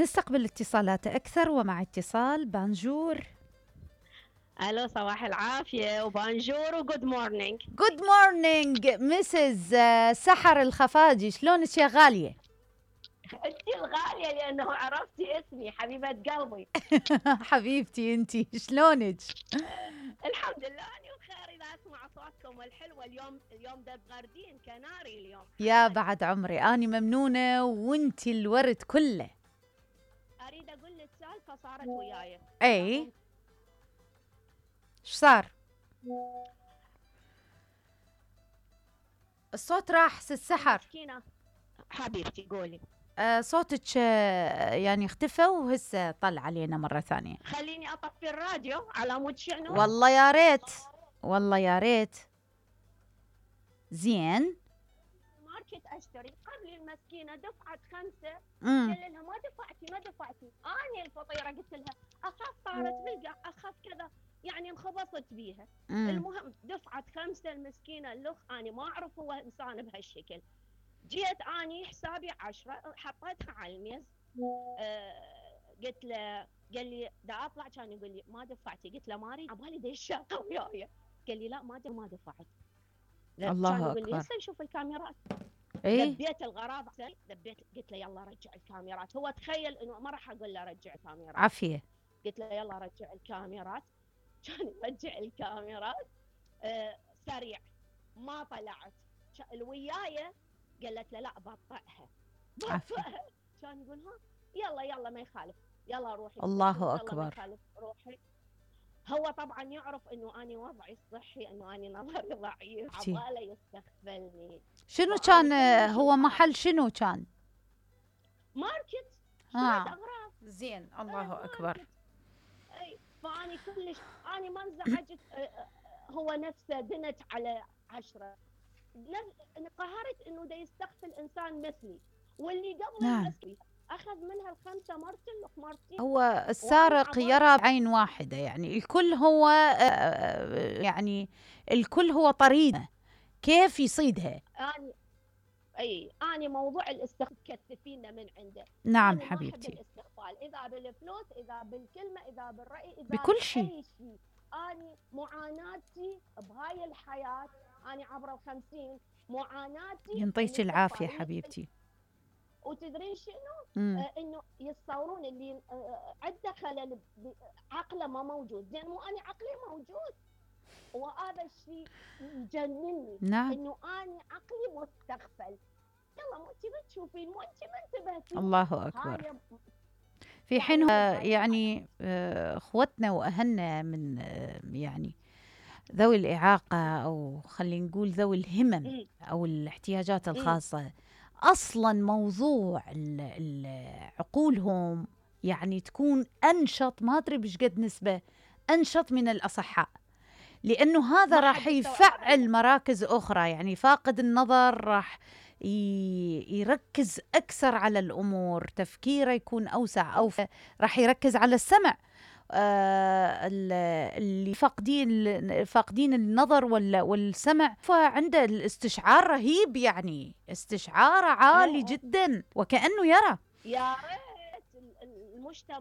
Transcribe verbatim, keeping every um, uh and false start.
نستقبل اتصالات أكثر، ومع اتصال بانجور. الو، صباح العافيه وبانجور وجود مورنينج. جود مورنينج مسز سحر الخفاجي، شلونك يا غاليه؟ انت الغاليه لانه عرفتي اسمي حبيبه قلبي. حبيبتي انتي شلونك؟ الحمد لله اني بخير. اذا اسمع صوتكم الحلوه اليوم اليوم ده بغردين كناري اليوم. يا بعد عمري، اني ممنونه وانتي الورد كله. اريد اقول لك سالفه صارت وياي. اي ايش صار؟ الصوت راح ست سحر. مسكينه حبيبتي قولي. آه صوتك آه يعني اختفى وهسه طلع علينا مرة ثانية. خليني اطفي الراديو على مود شنو؟ والله يا ريت، والله يا ريت. زين. ماركت اشتري قبل المسكينه دفعت خمسه. امم قال لها ما دفعتي ما دفعتي. اني الفطيره قلت لها اخاف طارت بالقع، اخاف كذا، يعني انخبصت بيها. مم. المهم دفعت خمسه المسكينه. الاخ اني ما اعرف هو انسان بهالشكل. جيت اني حسابي عشرة حطيتها على الميز. أه قلت له، قال لي دا اطلع، كان يقول لي ما دفعتي. قلت له ما اريد عبالي دا الشاقه وياي. قال لي لا ما ما دفعت. الله كان يقول لي أكبر. هسه نشوف الكاميرات. ايه دبيت الغراب، دبيت قلت له يلا رجع الكاميرات. هو تخيل انه ما راح اقول له رجع الكاميرات. عافية. قلت له يلا رجع الكاميرات. كان يرجع الكاميرات. آه سريع ما طلعت. الويايه قالت له لا بطئها بطئها. كان يقول ها يلا يلا ما يخالف، يلا روحي. الله أكبر. ما يخالف روحي. هو طبعا يعرف انه اني وضعي الصحي، انه اني نظري ضعيف، عباله يستغفلني. شنو كان هو محل شنو كان؟ ماركت. اه اغراض. زين. الله اكبر. اي فاني كلش اني ما انزعجت. هو نفسه دنت على عشرة. قهرت انه دا يستغفل انسان مثلي واللي قبل نعم. مثلي. اخذ منها الخمسه مرتين لك مرتين. هو السارق يرى بعين واحده، يعني الكل هو يعني الكل هو طريقه كيف يصيدها. اني اي اني موضوع الاستغفال كثفينا من عنده. نعم حبيبتي. الاستغفال اذا بالفلوس، اذا بالكلمه، اذا بالراي، اذا بكل شيء. اي شيء. اني معاناتي بهاي الحياه، اني عبر الخمسين، معاناتي ينطيك العافيه حبيبتي. وتدرين شنو؟ آه انه يتصورون اللي آه عنده خلل عقله ما موجود. زين مو اني عقلي موجود، وهذا الشيء يجنني. نعم. انه اني عقلي مستغفل. يلا مو انت ما تشوفين، مو انت ما انتبهتي. الله اكبر. في حين يعني اخوتنا واهلنا من يعني ذوي الاعاقه، او خلينا نقول ذوي الهمم او الاحتياجات الخاصه، اصلا موضوع عقولهم يعني تكون انشط، ما ادري بش قد نسبه انشط من الاصحاء، لانه هذا راح يفعل مراكز اخرى. يعني فاقد النظر راح يركز اكثر على الامور، تفكيره يكون اوسع، او راح يركز على السمع. آه اللي فاقدين فاقدين النظر والسمع، فعنده الاستشعار رهيب، يعني استشعاره عالي جدا وكأنه يرى. يا ريت المجتمع